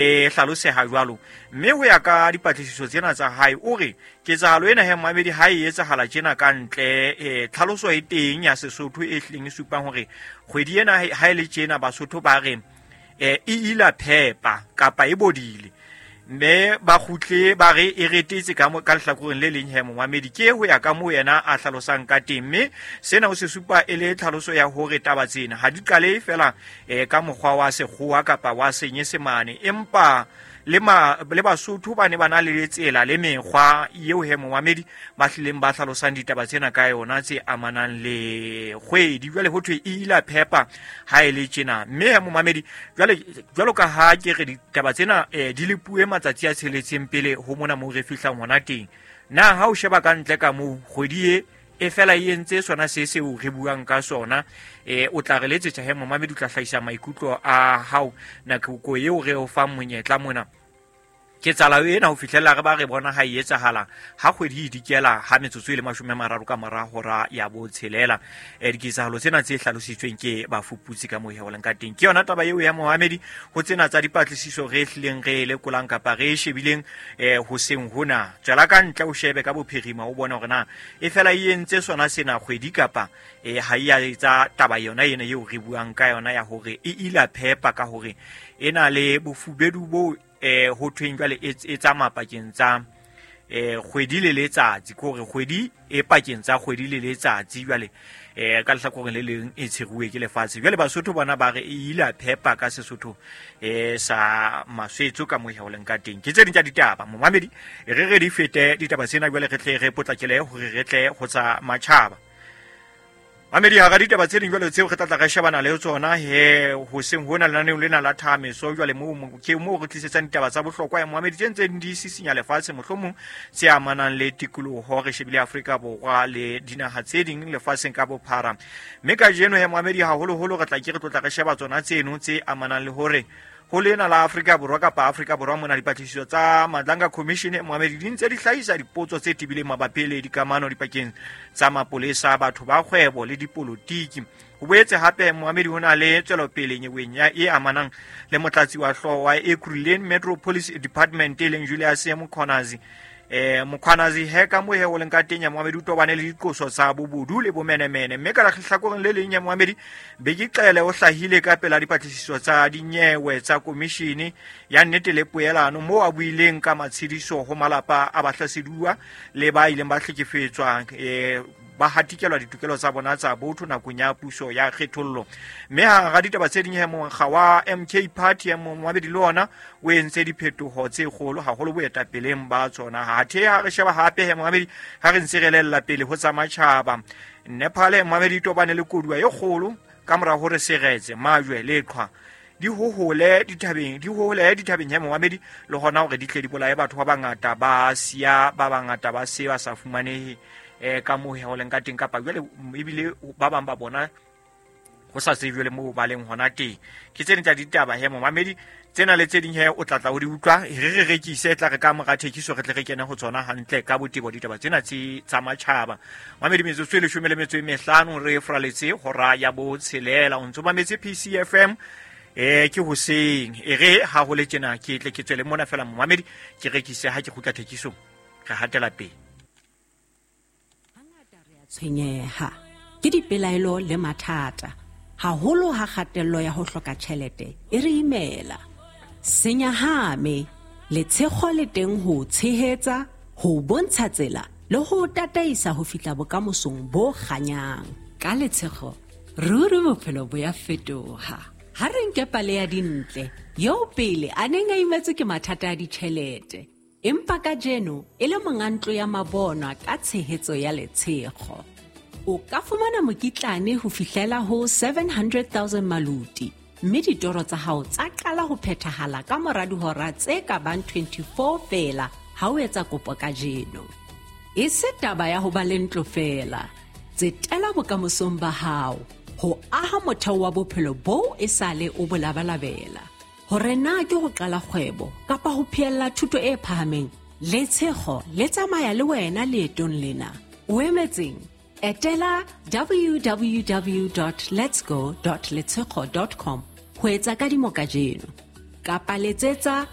E hlaloseha jwalo. Mme ho ya ka dipatlisiso tsena tsa hae, o re ketsahalo ena he momamedi ha e etsahala tjena ka ntle, tlhaloso e teng ya Sesotho e hlileng e supang hore kgwedi ena ha e le tjena Basotho ba re e ila phepa kapa e bodile. Mme ba kgutle ba re e retetse ka ka lehlakoreng le leng he momamedi, ke ho ya ka moo yena a hlalosang ka teng. Mme sena o se supa e le tlhaloso ya hore taba tsena ha di qale fela ka mokgwa wa sekgowa kapa wa senyesemane, empa le Basotho ba ne ba na le tsela le mekgwa eo he momamedi ba hlileng ba hlalosang ditaba tsena ka yona tse amanang le kgwedi. Jwale ho thwe e ila phepa ha e le tjena. Mme he momamedi, jwale jwalo ka ha ke re ditaba tsena di le puwe matsatsi a tsheletseng pele ho mona moo re fihlang hona teng, na ha o sheba ka ntle ka moo kgwedi e e fela e entse sona se seo re buang ka sona, o tla re letsetsa he momamedi, o tla hlahisa maikutlo a hao nako eo re o fang monyetla mona. Ketsahalo ena ho fihlella re ba re bona ha e etsahala ha kgwedi e dikela ha metsotso e le 30 ka mora hora ya botshelela. Diketsahalo tsena tse hlalositsweng ke bafuputsi ka moo ho leng ka teng. Ke yona taba eo ya momamedi ho tsena tsa dipatlisiso re hlileng re lekolang kapa re shebileng hoseng hona. Tswela ka ntle o shebe ka bophirima o bone hore na e fela e entse sona sena kgwedi kapa ha e a etsa taba yona ena eo re buang ka yona ya hore e ila phepa ka hore e na le bofubedu bo ho thweng jwale e tsamaya pakeng tsa kgwedi le letsatsi, ke hore kgwedi e pakeng tsa kgwedi le letsatsi jwale ka lehlakoreng le leng e tsheruwe ke lefatshe. Jwale Basotho bona ba re e ile phepa ka Sesotho sa maswetso ka moo ho leng ka teng. Ke tse ding tsa ditaba momamedi, re re di fete ditaba tsena jwale re tle re potlakele hore re tle ho tsa matjhaba. Mamedi, hara ditaba tse ding jwale tseo re tla tla re shebana le tsona he hoseng hona lenaneong lena la Thameso, jwale moo ke moo re tlisetsang ditaba tsa bohlokwa ya momamedi tse ntseng di sisinya lefatshe, mohlomong tse amanang le tikoloho. Re shebile Afrika Borwa le dinaha tse ding lefatsheng ka bophara. Mme kajeno he momamedi haholoholo re tla ke re tlotla re sheba tsona tseno tse amanang le hore ho lena la Afrika Borwa kapa Afrika Borwa mona dipatlisiso tsa Madlanga Commission momamedi di ntse di hlahisa dipotso tse tebileng mabapi le dikamano dipakeng tsa mapolesa, batho ba kgwebo le dipolotiki. Ho boetse hape momamedi ho na le tswelopele nyeweng ya e amanang le motlatsi wa hlooho wa Ekurhuleni Metro Police Department e leng Julius Mkhwanazi. Mkhwanazi he ka moo he o leng ka teng ya momamedi o tobane le diqoso tsa bobodu le bomenemene. Mme ka lehlakoreng le leng ya momamedi Bheki Cele o hlahile ka pela dipatlisiso tsa dinyewe tsa komishene ya nnete le poelano moo a buileng ka matshediso ho malapa a bahlaseduwa le ba ileng ba hlekefetswa ba hatikelwa ditokelo tsa bona tsa botho nakong ya puso ya kgethollo. Mme hara ditaba tse ding he mokga wa MK Party ya momamedi le ona o entse diphetoho tse kgolo haholo boetapeleng ba tsona. Hathe ha re sheba hape he momamedi ha re ntse re lella pele ho tsa matjhaba, Nepal momamedi tobane le koduwa e kgolo ka mora hore seretse, majwe le qhwa di hohole dithabeng, di hohole dithabeng he momamedi, le hona hore di tle di bolaye batho ba bangata ba siya ba bangata ba se ba sa fumanehe ka moo ho leng ka teng, kapa jwale ebile ba bang ba bona ho sa tsejwe le moo ba leng hona teng. Ke tse ding tsa ditaba he momamedi, tsena le tse ding he o tla tla o di utlwa. Re re rekise, tla re ka mora thekiso re tle re kene ho tsona hantle ka botebo ditaba tsena tse tsa matjhaba. Mamedi, metsotso e 15 re fraletse hora ya botshelela. O ntso mametse PCFM ke hoseng. E re ha ho le tjena ke tle ke tswele mona fela momamedi, ke rekise ha ke kgutla thekisong re hatela pele. Hangata re a tshwenyeha ke dipelaelo le mathata, haholo ha kgatello ya ho hloka tjhelete e re imela. Senyahame, letshego le teng ho tshehetsa, ho bontsha tsela le ho tataisa ho fihla bokamosong bo kganyang. Ka letshego, ruri bophelo bo ya fetoha. Ha re nke pale ya Dintle, eo pele a neng a imetswe ke mathata a ditjhelete, empa kajeno e le monga ntlo ya mabonwa ka tshehetso ya letshego. O ka fumana mokitlane ho fihlela ho 700,000 maluti, mme ditoro tsa hao tsa qala ho phethahala ka mora dihora tse ka bang 24 feela ha o etsa kopo kajeno. E se taba ya ho ba le ntlo feela, tsetela bokamosong ba hao, ho aha motheo wa bophelo boo e sale o bo labalabela. Hore na ke ho qala kgwebo kapa ho phehella thuto e phahameng, letshego le tsamaya le wena leetong lena. O emetseng? Etela www.letsgo.letshego.com ho etsa kadimo kajeno. Kapa letsetsa